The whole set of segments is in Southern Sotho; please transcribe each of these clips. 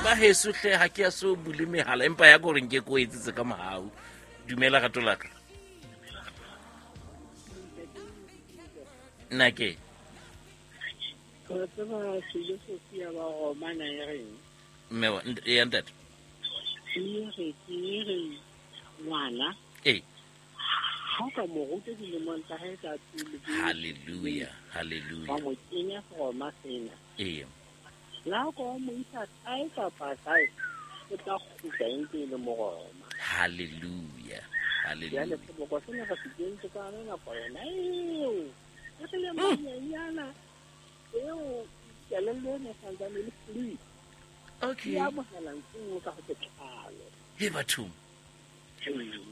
Ba heso hle ha ke ya so bule mehala empa ya gore nke ko etsetse ka mohau. Dumela rato la ka. Nna ke. Wa tseba filosofi ya ba Roma na e reng? Mme wa ya ntate. E re ke re ngwana. Ee. Ha o ka mo ruta dilemong tsa hae tsa pele. Hallelujah, hallelujah. Wa mo kenya Roma sena. Ee. La o ka mo isa kae kapa kae, o tla kgutla e ntse e le Moroma. Hallelujah, hallelujah. Jwale seboko sena re se kentse ka yona nako yona eo. E re le manyenyana eo kelello ena e santsane e le fluid. Okay. E amohela ntho e nngwe ka ho botlalo. He bathong. Ee.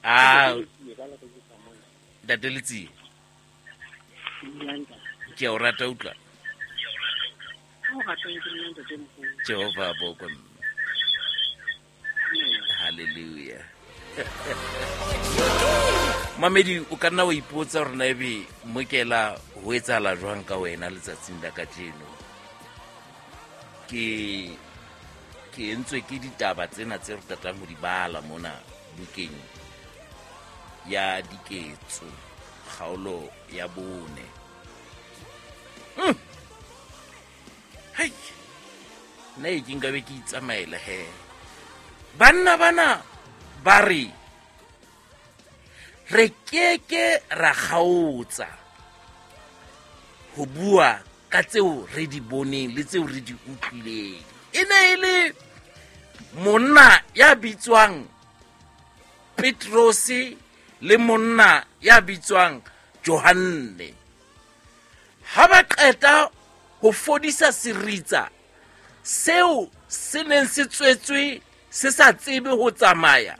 Ah, Ke ka le re jwetsa mona. Ntate Letsie. Dumelang ntate. Ke a o rata utlwa. Ha o ratang ke nna ntate moholo. Jehova a bokwe mme. Hallelujah. Mamedi o ka nna wa ipotsa hore na ebe mokela ho etsahala jwang ka wena letsatsing la kajeno. Ke entswe ke ditaba tsena tse re qetang ho di bala mona bukeng ya Diketso kgaolo ya 4. Hai. Nna e ke nkabe ke itsamaela he. Banna bana ba re re keke ra kgaotsa ho bua ka tseo re di boneng le tseo re di utlwileng. E ne e le monna ya bitswang Petrose le monna ya bitswang Johanne. Ha ba qeta ho fodisa seritsa seo se neng se tswetswe se sa tsebe ho tsamaya.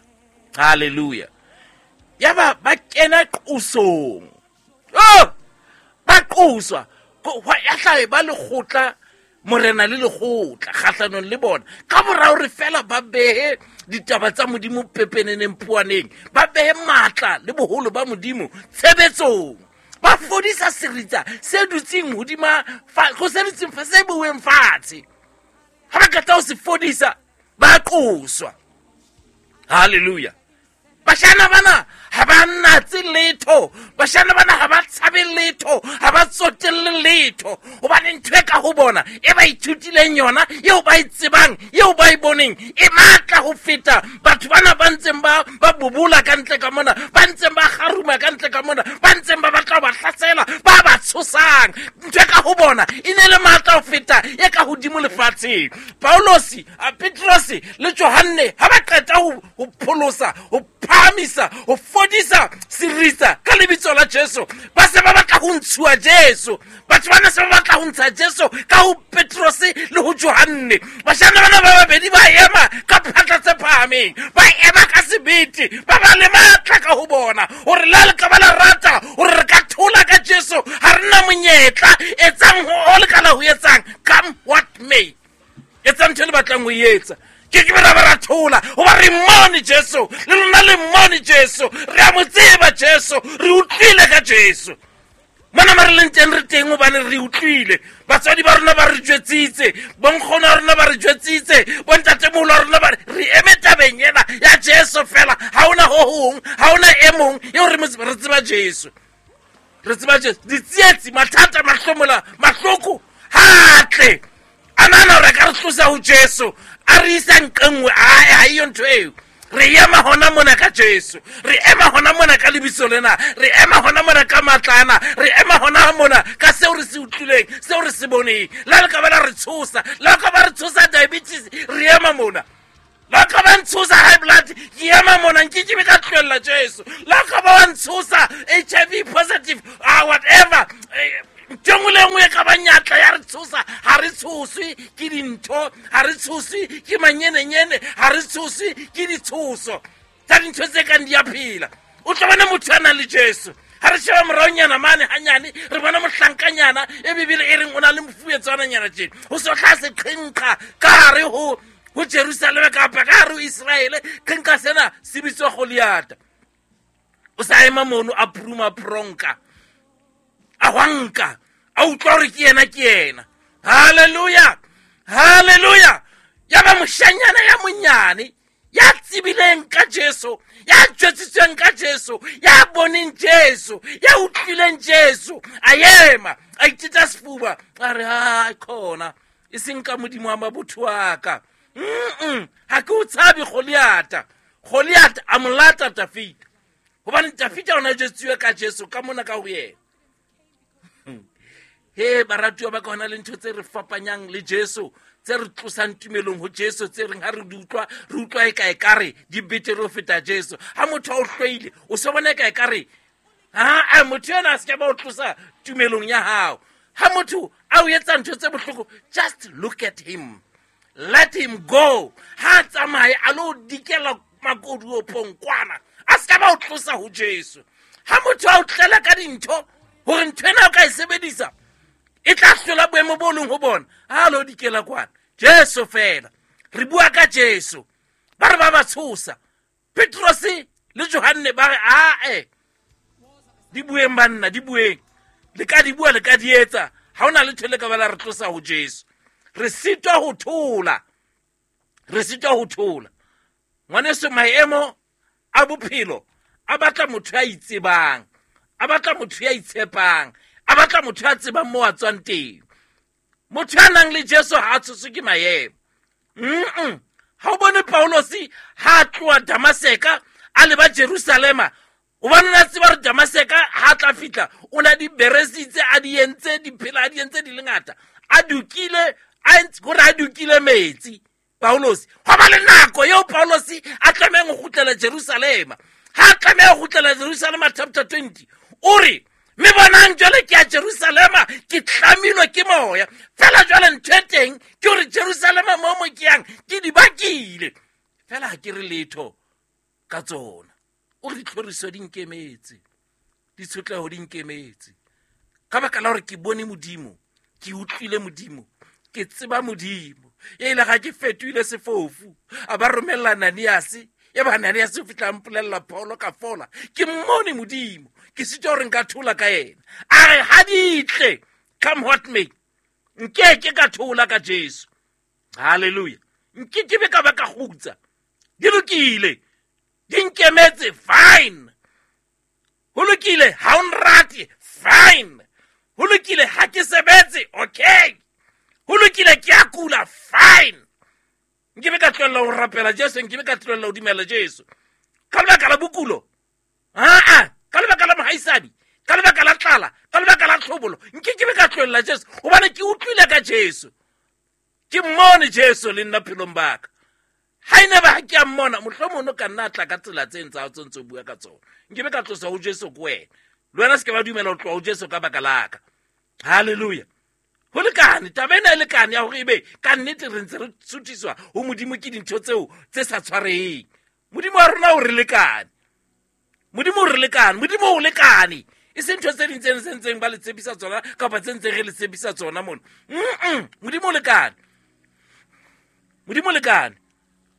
Hallelujah. Yaba ba kena qosong. Oh! Ba qoswa. Ya hlae ba lekgotla, morena le lekgotla kgahlanong le bona. Ka mora hore fela ba behe ditaba tsa Modimo pepeneneng puaneng, ba behe matla le boholo ba Modimo tshebetsong. Ba fodisa seritsa se dutseng hodima go se dutseng fa se bueng fatshe. Ha ba qeta ho se fodisa, ba qoswa. Hallelujah. Bashana bana ha ba natse letho, bashana bana ha ba tshabe letho, ha ba tsotelle letho, hobane ntho e ka ho bona e ba ithutileng yona, eo ba e tsebang, eo ba e boneng, e matla ho feta batho bana ba ntseng ba bobola ka ntle ka mona, ba ntseng ba kgaruma ka ntle ka mona, ba ntseng ba batla ho ba hlasela, ba ba tshosang. Ntho e ka ho bona e ne le matla ho feta e ka hodimo lefatsheng. Paulosi, Petrose le Johanne ha ba qeta ho pholosa, ho phahamisa, ho fodisa seritsa ka lebitso la Jesu, ba se ba batla ho ntshuwa Jesu. Batho bana se ba batla ho ntsha Jesu ka ho Petrose le ho Johanne. Bashana bana ba babedi ba ema ka phatla tse phahameng, ba ema ka sebete, ba ba le matla ka ho bona hore la le ka ba la rata hore re ka thola ka Jesu, ha re na monyetla. Etsang ho le ka la ho etsang, come what may, etsang ntho e le batlang ho e etsa. Ke ke ra ba ra thola hoba re mmone Jesu, le lona le mmone Jesu, re a mo tseba Jesu, re utlwile ka Jesu. Mona ma re leng teng re teng hobane re utlwile. Batswadi ba rona ba re jwetsitse, bonkgono ba rona ba re jwetsitse, bontatemoholo ba rona ba re eme tabeng ena ya Jesu fela. Ha hona ho hong, ha hona e mong eo re mo tseba, re tseba Jesu. Re tseba Jesu. Ditsietsi, mathata, mahlomola, mahloko, ha tle. A nahana hore a ka re tlosa ho Jesu, a re isa nqe nngwe, ae, ha eyo ntho eo. Re ema hona mona ka Jesu, re ema hona mona ka lebitso lena, re ema hona mona ka matla ana, re ema hona mona ka seo re se utlwileng, seo re se boneng. Le ha le ka ba la re tshosa, le ha ka ba re tshosa diabetes, re ema mona. Le ha ka ba ntshosa high blood, ke ema mona, nke ke be ka tlohella Jesu. Le ha ka ba wa ntshosa HIV positive, whatever, ntho nngwe le nngwe e ka ba nyatla ya re tshosa, ha re tshoswe ke dintho, ha re tshoswe ke manyenenyene, ha re tshoswe ke ditshoso tsa dintho tse kang di a phela. O tla bona motho a nang le Jesu. Ha re sheba moraonyana mane hanyane, re bona mohlankanyana e Bibele e reng o na le mofuetswananyana tjena. Ho so hlaha seqhenqha ka hare ho Jerusalema kapa ka hare ho Israele, qhenqha sena se bitswa Goliata. O sa ema mono a puruma pronka, a hwanka, a utlwa hore ke yena, ke yena. Hallelujah, hallelujah. Ya ba moshanyana ya monyane ya tsebileng ka Jesu, ya jwetsitsweng ka Jesu, ya boneng Jesu, ya utlwileng Jesu, a ema a iteta sefuba, a re a khona e seng ka Modimo wa mabotho wa ka. Ha ke o tshabe Goliata. Goliata a mo lata Dafita, hobane Dafita o ne a jwetsiwe ka Jesu ka mona ka ho yena. He baratuwa ba ka, hona le ntho tse re fapanyang le Jesu, tse re tlosang tumelong ho Jesu, tse reng ha re di utlwa, re utlwa e ka ekare di betere ho feta Jesu. Ha motho a o hloile, o se bona e ka ekare, ha, motho ena a se ke ba o tlosa tumelong ya hao. Ha motho a o etsa ntho tse bohloko, just look at him, let him go. Ha tsamaye a lo dikela makoduopong kwana, a se ka ba o tlosa ho Jesu. Ha motho a o tlela ka dintho hore ntho ena o ka e sebedisa e tla hlola boemo bo leng ho bona, ha lo dikela kwana. Jesu fela, re bua ka Jesu. Ba re ba ba tshosa. Petrose le Johanne ba re ae, di bueng banna, di bueng, le ka di bua, le ka di etsa, ha hona letho le ka ba la re tlosa ho Jesu. Re sitwa ho thola, re sitwa ho thola. Ngwaneso, maemo a bophelo a batla motho ya itsebang, a batla motho ya itshepang, a batla motho ya tsebang moo a tswang teng. Motho ya nang le Jesu ha a tshoswe ke maemo. Ha o bone Paulosi ha a tloha Damaseka a leba Jerusalema, hobane o ne a tseba hore Damaseka ha a tla fihla o na di beresitse, a di entse, di phela, a di entse di le ngata, a dukile, a entse, hore a dukile metsi. Paulosi, hwa ba le nako eo Paulosi a tlamehang ho kgutlela Jerusalema. Ha a tlameha ho kgutlela Jerusalema, chapter 20, o re, mme bonang jwale ke ya Jerusalema, ke tlamilwe ke moya. Fela jwale ntho e teng ke hore Jerusalema moo mo ke yang ke di bakile, fela ha ke re letho ka tsona. O re ditlhoriso di nkemetse, ditshotleho di nkemetse, ka baka la hore ke bone Modimo, ke utlwile Modimo, ke tseba Modimo. E ile ga ke fetohile sefofu, a ba romella Ananiase, e ba Ananiase o fihla a mpolella Paulo ka fola. Ke mmone Modimo, ke sitwa hore nka thola ka yena. A re ha di tle, come what may, nke ke ka thola ka Jesu. Hallelujah. Nke ke be ka ba ka kgutsa. Di lokile, di nkemetse, fine. Ho lokile, ha o nrate, fine. Ho lokile, ha ke sebetse, okay. Ho lokile, ke a kula, fine. Nke be ka tlohella ho rapela Jesu, nke be ka tlohella ho dumela Jesu. Ka lebaka la bokulo, aa, ka lebaka la mohaisadi, ka lebaka la tlala, ka lebaka la tlhobolo, nke ke be ka tlohella Jesu, hobane ke utlwile ka Jesu. Ke mmone Jesu le nna phelong ba ka. Ha e ne ba ha ke a mmona, mohlomong o ka nna a tla ka tsela tse ntsa tse ntse o bua ka tsona. Nke be ka tlosa ho Jesu ke wena. Le wena se ke ba dumela ho tloha ho Jesu ka baka la ka. Hallelujah. Ho lekane, taba ena e lekane ya hore ebe ka nnete re ntse re suthiswa ho Modimo ke dintho tseo tse sa tshwareheng. Modimo wa rona o re lekane. Modimo o re lekane, Modimo o lekane. E se ntho tse ding tse tse ntseng ba le tshepisa tsona kapa tse ntseng re le tshepisa tsona mona. Modimo o lekane. Modimo o lekane.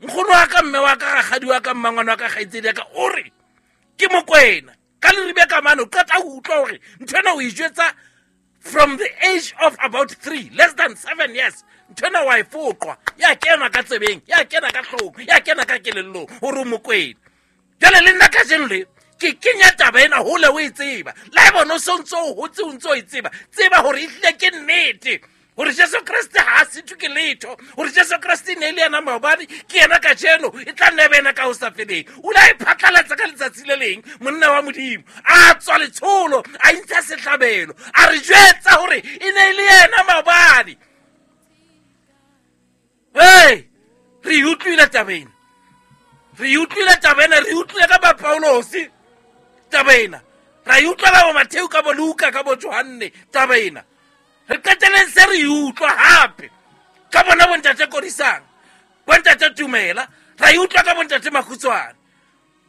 Nkgono wa ka, mme wa ka, rakgadi wa ka, mmangwane wa ka, kgaitsedi ya ka, o re ke Mokwena. Ka leribe ka mane, o qeta ho utlwa hore ntho ena o e jwetsa from the age of about 3, less than 7 years. Ntho ena wa e foqwa, ya kena ka tsebeng, ya kena ka hloohong, ya kena ka kelellong hore o Mokwena. Jwale le nna kajeno le ke kenya taba ena hole o e tseba. Le ha eba o so ntso o hotse o ntso o e tseba, tseba hore ehlile ke nnete hore Jesu Kreste ha a sitwe ke letho, hore Jesu Kreste e ne e le yena maobane, ke yena kajeno, e tla nna e be yena ka ho sa feleng. O ile a e phatlalatsa ka letsatsi le leng, monna wa Modimo a tswa letsholo, a intsha sehlabelo, a re jwetsa hore e ne e le yena maobane. Hey, re e utlwile taba ena, re e utlwile taba ena, re e utlwile ka ba Paulosi taba ena, ra e utlwa ka bo Matheu, ka bo Luka, ka bo Johanne taba ena. Re qeteleng se re e utlwa hape ka bona bontate Kodisang, bontate Tumela, ra e utlwa ka bontate Makhutswane,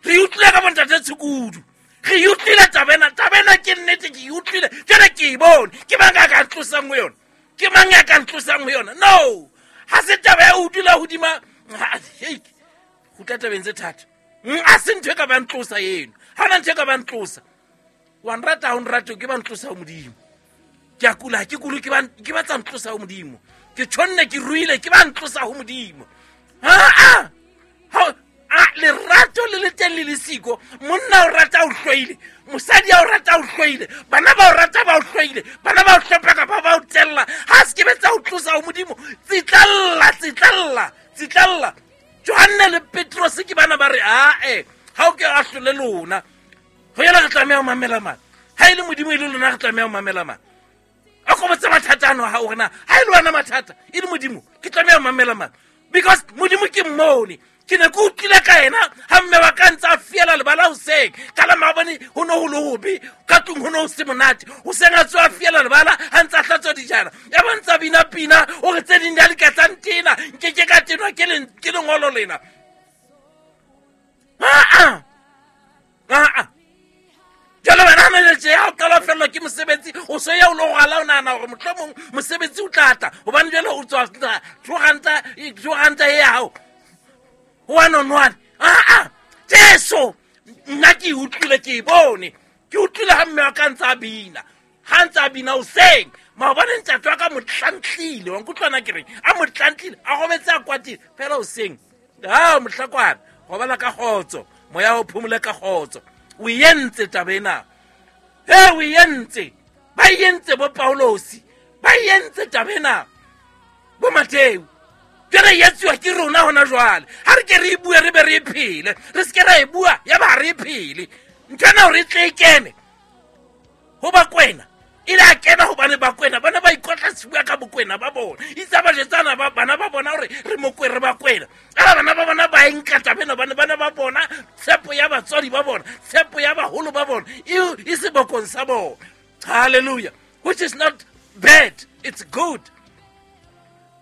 re e utlwile ka bontate Tshukudu, re e utlwile taba ena. Taba ena ke nnete, ke e utlwile, jwale ke e bone. Ke mang a ka ntlosang ho yona? Ke mang ya ka ntlosang ho yona? No, ha se taba ya ho dula hodima, ha, hei, kgutla tabeng tse thata. A se ntho e ka ba ntlosa eno, ha hona ntho e ka ba ntlosa. Wa nrata, ha o nrate, ke ba ntlosa ho Modimo. Ke a kula, ha ke kule, ke ba tsa ntlosa ho Modimo. Ke tjhonne, ke ruile, ke ba ntlosa ho Modimo. Aa a lerato le le teng le le siko. Monna o rata o hloile, mosadi a o rata o hloile, bana ba o rata ba o hloile, bana ba o hlompha kapa ba o tella. Ha se ke be tsa o tlosa ho Modimo. Tsitlalla, tsitlalla, tsitlalla. Johanne le Petrose ke bana ba re ae, ha o ke a hlole lona. Ho yela re tlameha ho mamela mang? Ha e le Modimo e le lona re tlameha ho mamela mang? A ko botse mathata ano ha o rena, ha e le wena mathata e le Modimo, ke tlameha ho mamela mang? Because Modimo ke mmone. Ke ne ke utlwile ka yena ha mme wa ka ntse a fiela lebala hoseng. Ka la maobane ho no ho le hobe, ka tlung ho no ho se monate. Hoseng a tsoha a fiela lebala ha ntse a hlatswa dijana. Ya ba ntse a bina pina, o re tse ding di a di ka tsa ntena, nke ke ka tenwa ke lengolo lena. Aa! Aa! Jwale wena ha manager ya o qala ho fellwa ke mosebetsi, o so ya o lo rwala, o nahana hore mohlomong mosebetsi o tla tla, hobane jwale o tswa two ranta e ya hao. One on one. Aa! Jesu! Nna ke e utlwile, ke e bone. Ke utlwile ha mme wa ka ntse a bina. Ha ntse a bina hoseng. Maobane ntate wa ka mo tlantlile. Wa nkutlwa na ke reng? A mo tlantlile, a robetse a kwatile. Fela hoseng. Ha, mohlakwana, robala ka kgotso. Moya o phomole ka kgotso. O entse taba ena. He, o entse. Ba entse bo Paulosi. Ba entse taba ena. Bo Mateu. Jwale e etsuwa ke rona hona jwale. Ha re ke re e bue, re be re e phele. Re se ke ra e bua, ya ba ha re e phele. Ntho ena hore e tle e kene ho Bakwena, e le a kena hobane Bakwena ba ne ba ikotla sefuba ka bokwena ba bona. Itse ba jetsana ba bana ba bona hore re mokwe re Bakwena. Ela bana ba bona ba e nka taba ena hobane ba ne ba bona tshepo ya batswadi ba bona, tshepo ya baholo ba bona e sebokong sa bona. Hallelujah. Which is not bad, it's good.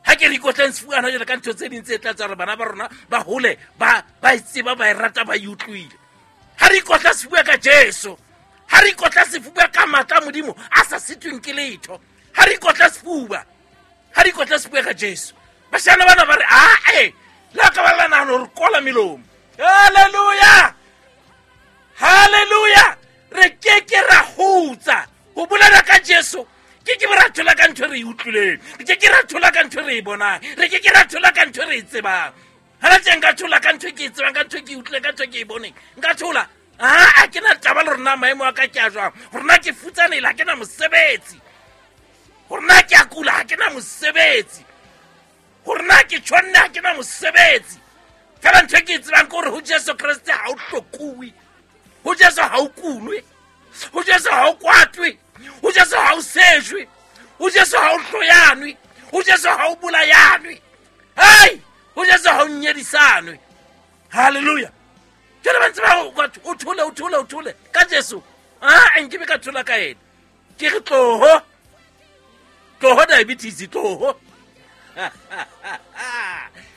Ha ke re ikotleng sefuba hona jwale ka ntho tse ding tse tla tsa hore bana ba rona ba hole, ba e tseba, ba e rata, ba e utlwile. Ha re ikotla sefuba ka Jesu, ha re ikotla sefuba ka matla a Modimo a sa sitweng ke letho, ha re ikotla sefuba, ha re ikotla sefuba ka Jesu. Bashana bana ba re, ae, le ka ba la nahana hore kola melomo. Hallelujah! Hallelujah! Re ke ke ra hutsa ho bolela ka Jesu. Ke ke ra thola ka ntho e re e utlwileng. Re ke ke ra thola ka ntho e re e bonang. Re ke ke ra thola ka ntho e re e tsebang. Ha la tje nka thola ka ntho e ke e tsebang, ka ntho e ke e utlwileng, ka ntho e ke e boneng. Nka thola. Ha ke na taba le rona maemo a ka ke a jwang. Hore na ke futsanehile, ha ke na mosebetsi. Hore na ke a kula, ha ke na mosebetsi. Hore na ke tjhonne, ha ke na mosebetsi. Fela ntho e ke e tsebang ke hore ho Jesu Kreste ha o hlokuwe. Ho Jesu ha o kulwe. Ho Jesu ha o kwatwe. Ho Jesu ha o sejwe. Ho Jesu ha o hloyanwe. Ho Jesu ha o bolayanwe. Hei! Ho Jesu ha o nyedisanwe. Hallelujah. Jwale ba ntse ba o kwatwe, o thole, o thole, o thole. Ka Jesu. Ah, nke be ka thola ka ena. Ke re tloho. Tloho diabetes, tloho.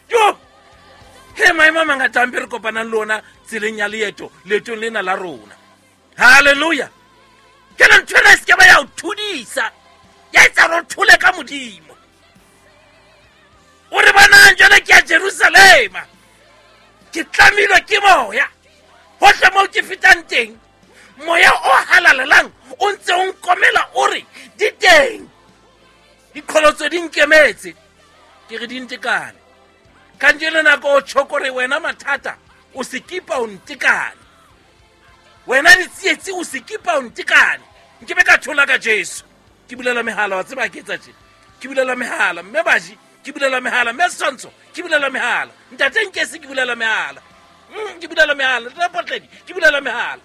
Jo! He, maemo a mangata a mpe re kopanang le ona tseleng ya leeto, leetong lena la rona. Hallelujah. Ke re ntho ena e se ke ba ya o thudisa, ya etsa hore o thole ka Modimo. O re bonang jwale ke ya Jerusalema, ke tlamilwe ke moya. Hohle moo ke fetang teng, moya o halalelang o ntse o nkomela o re di teng. Diqholotso di nkemetse, ke re di ntekane. Kajeno nako o tjho kore wena mathata o se kipa o ntekane. Wena ditsietsi o se kipa o ntekane. Nke be ka thola ka Jesu. Ke bulela mehala, wa tseba ke etsa tje. Ke bulela mehala, mme baji, ke bulela mehala, mme Setshwantsho, ke bulela mehala. Ntate Nkesi, ke bulela mehala. Ke bulela mehala, Ntate Potledi, ke bulela mehala.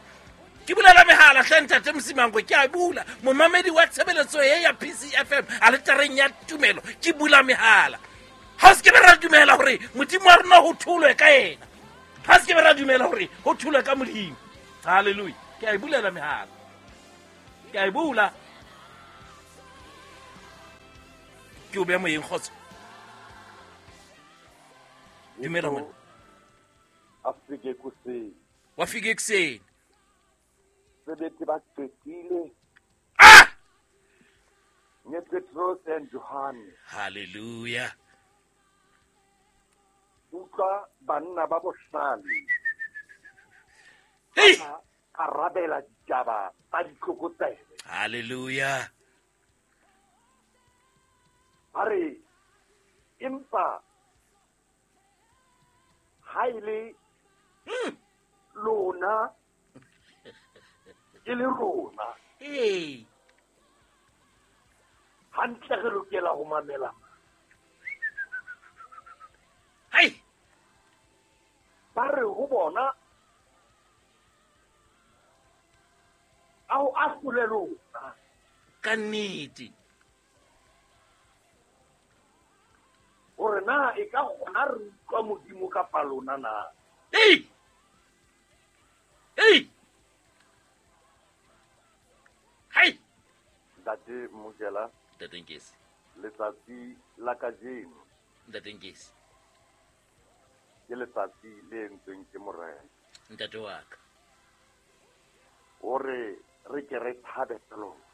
Ke bulela mehala hle Ntate Mosimango, ke a bula. Momamedi wa tshebeletso e ya PCFM, aletareng ya tumelo, ke bula mehala. Ha o se ke be ra dumela hore Modimo wa rona ho tholwe ka yena. Ha se ke be ra dumela hore ho tholwe ka Modimo. Hallelujah. Ke a e bulela mehala. Ke a e bula. Ke o beha moyeng, kgotso. Dumela ngwana. A fike ekuseni. Wa fika ekuseni. Sebetse ba qetile. Ah! Nye Petros and Johannes. Hallelujah. Utlwa banna ba bohlale. Hey! Ba arabela ditaba tsa ditlokotsebe. Hallelujah. Ba re Empa ha e le lona e le rona. Ee. Hantle re lokela ho mamela. Hai. Ba re ho bona a ho ahlole lona. Ka nnete. Hore na e ka kgona re utlwa Modimo kapa lona na? Ei! Ei! Hai! Ntate Mojela. Ntate Nkesi. Letsatsi la kajeno. Ntate Nkesi. Ke letsatsi le entsweng ke Morena. Ntate wa ka. Hore re ke re thabe ka lona.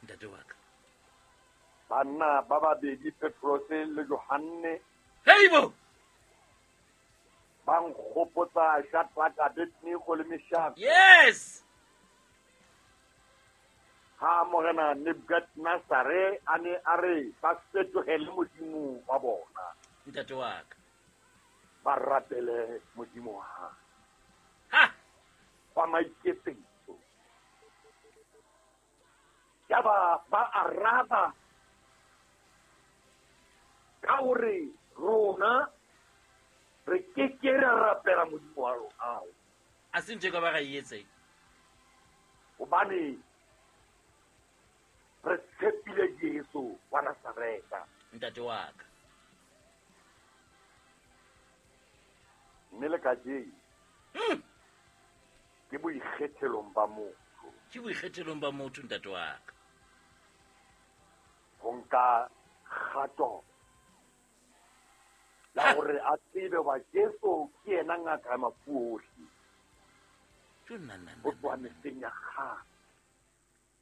Ntate wa ka. Banna ba babedi Petrose le Johanne. Heibo! Ba nkgopotsa Shadrach, Abednego le Meshach. Yes! Ha Morena Nebukadnezare a ne a re ba fetohele Modimo wa bona. Ntate wa ka. Ba rapele Modimo wa hae. Ha! Wa maiketsetso. Yaba ba araba ka hore rona re ke ke ra rapela Modimo wa rona. A se ntho e ka ba ra e etseng. Hobane re tshepile Jesu wa Nazaretha. Ntate wa ka. Mme le kajeno ke boikgethelong ba motho. Ke boikgethelong ba motho ntate wa ka. Ho nka kgato la hore a tsebe wa Jesu ke yena ngaka ya mafu ohle. Ho tloha mehleng ya kgale.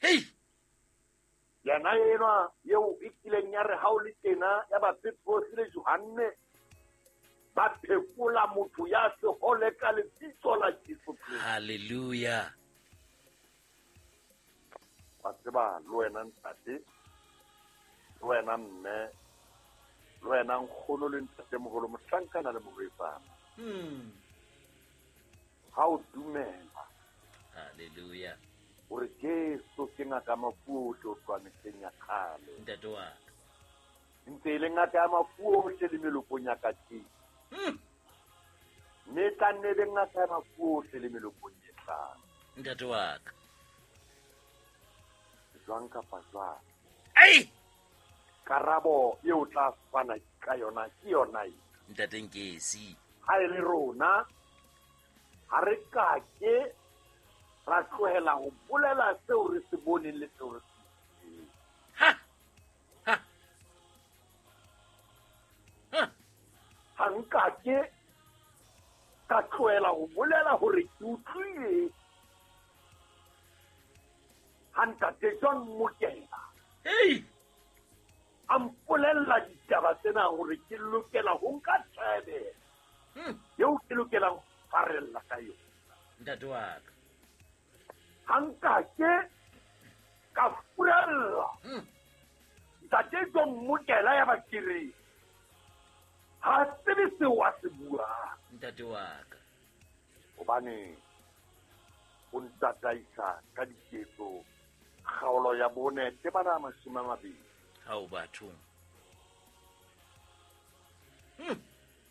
Hei! Yena enwa eo e kileng ya re ha o le tena ya ba Petrose le Johanne ba phekola motho ya sehole ka lebitso la Jesu Kreste. Hallelujah. Wa tseba le wena ntate, le wena mme, le wena nkgono le ntatemoholo, mohlankana le morwetsana. Ha o dumela. Hallelujah. Hore Jesu ke ngaka ya mafu ohle ho tloha mehleng ya kgale. Ntate wa ka. Ntse e le ngaka ya mafu ohle le melokong ya kajeno. Mme e tla nne e be ngaka ya mafu ohle le melokong e tlang. Ntate wa ka. Jwang kapa jwang. Ai! Karabo eo tla fana ka yona ke yona e. Ntate Nkesi. Ha e le rona ha re ka ke ra tlohela ho bolela seo re se boneng le seo re se utlwileng. Ha! Ha! Ha! Ha nka ke ka tlohela ho bolela hore ke utlwile ha ntate John Mokela. Hey! A mpolella ditaba tsena hore ke lokela ho nka tsebe eo ke lokelang ho farella ka yona. Ntate wa ka. Ha nka ke ka furalla. Ntate John Mokela ya ba ke re ha tsebe seo a se buang. Ntate wa ka. Hobane o ntataisa ka diketso kgaolo ya 4 temana 20. Hao bathong.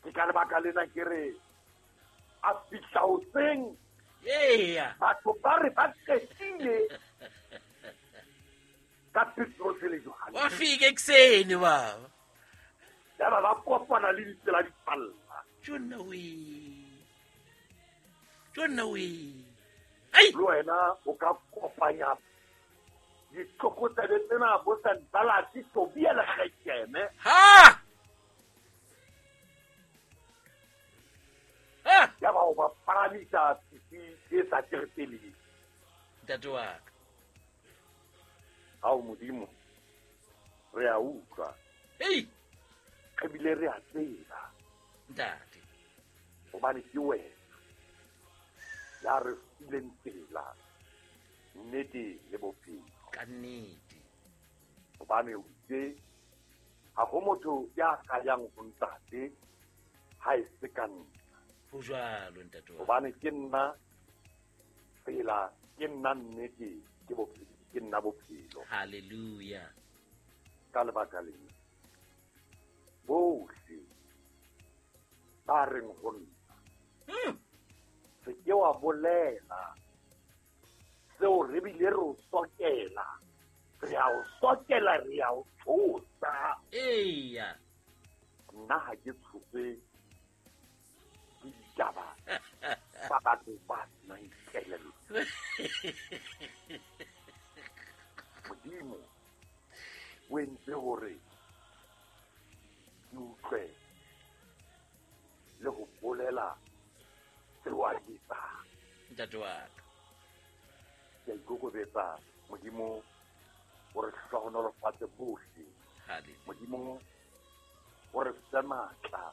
Ke ka lebaka lena ke re a fihla hoseng. Eya. Batho ba re ba qetile ka Petrose le Johanne. Wa fika ekuseni baba. Yaba ba kopana le ditsela di palla. Tjona we. Tjona we. Ai! Le wena o ka kopanya ditlokotsebe tsena bo Sanbalati, Tobia le Gesheme. Ha! Ha! Yaba o ba palamisa fifi e sa terepeleng. Ntate wa ka. Ao Modimo, re a utlwa. Hei! Re bile re a tseba. Ntate. Hobane ke wena ya re fileng tsela, nnete le bophelo. Ka nnete. Hobane o itse Ha ho motho ya ka yang ho Ntate ha e se ka nna. Ho jwalo ntate wa. Hobane ke nna tsela, ke nna nnete, ke bophelo, ke nna bophelo. Hallelujah. Ka lebaka lena bohle ba reng ho nna, se ke wa bolela seo re bile re o sokela, re a o sokela, re a o tshosa. Eya. Nna ha ke tshose ke ditaba tsa batho ba senang kelello. Modimo o entse hore ke utlwe le ho bolela seo a se etsang. Ntate wa ka. Ke a ikokobetsa, Modimo o re hlohonolofatse bohle. Hallelujah. Modimo o re fe matla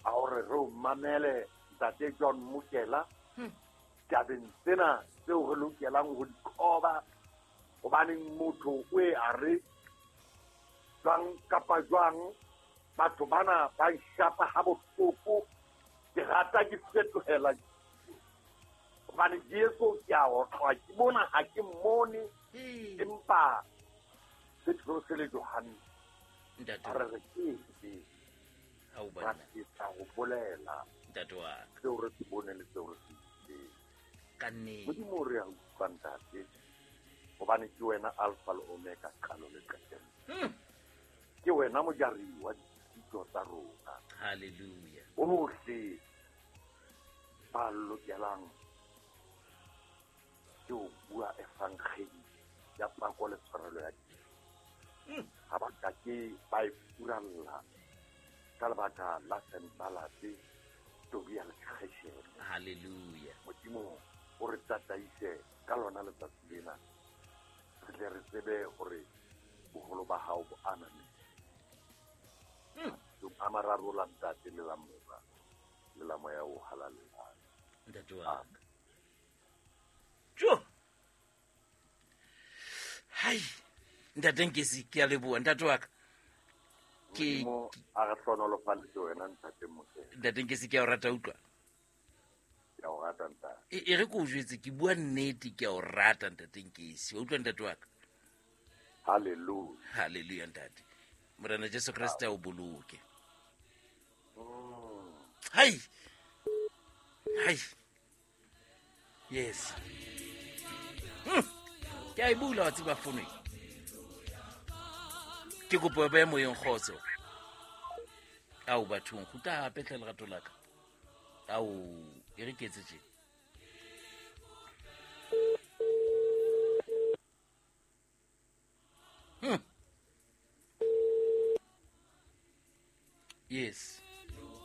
a hore re o mamele Ntate John Mokela tabeng tsena tseo re lokelang ho di qoba, hobaneng motho o e a re jwang kapa jwang, batho bana ba nshapa ha bohloko, ke rata ke fetohela hobane Jesu ke a otlwa, ke bona ha ke mmone, empa Petrose le Johanne Ntate a re re ke ke Ha o ra bona. fetsa ho bolela Ntate wa ka. seo re se boneng le seo re se utlwileng. Ka nnete. Modimo re a utlwa Ntate, hobane ke wena Alpha le Omega, qalo le qetello. Ke wena mojari wa ditshito tsa rona. Hallelujah. Bohle ba lokelang ke ho bua evangeli ya pako le tshwarelo ya dibe. Ha ba ka ke ba e furalla ka lebaka la Sanbalate, Tobia le Gesheme. Hallelujah. Modimo o re tataise ka lona letsatsi lena, re tle re tsebe hore boholo ba hao bo aname. A mararo la Ntate le la Mora le la Moya o Halalelang. Ntate wa ka. Jo. Hai. Ntate Nkesi, ke a leboha ntate wa ka. Ke Modimo a re hlohonolofaletse wena Ntate Mokela. Ntate Nkesi, ke a o rata utlwa. Ke a o rata ntate. E re ke o jwetse, ke bua nnete, ke a o rata Ntate Nkesi. Wa utlwa ntate wa ka? Hallelujah. Hallelujah ntate. Morena Jesu Kreste a o boloke. Hai. Hai. Yes. Ke a e bula wa tseba fono e. Ke kopo ba moyeng kgotso. Ao bathong, kgutla hape hle lerato la ka. Ao, e re ke etse tje. Yes.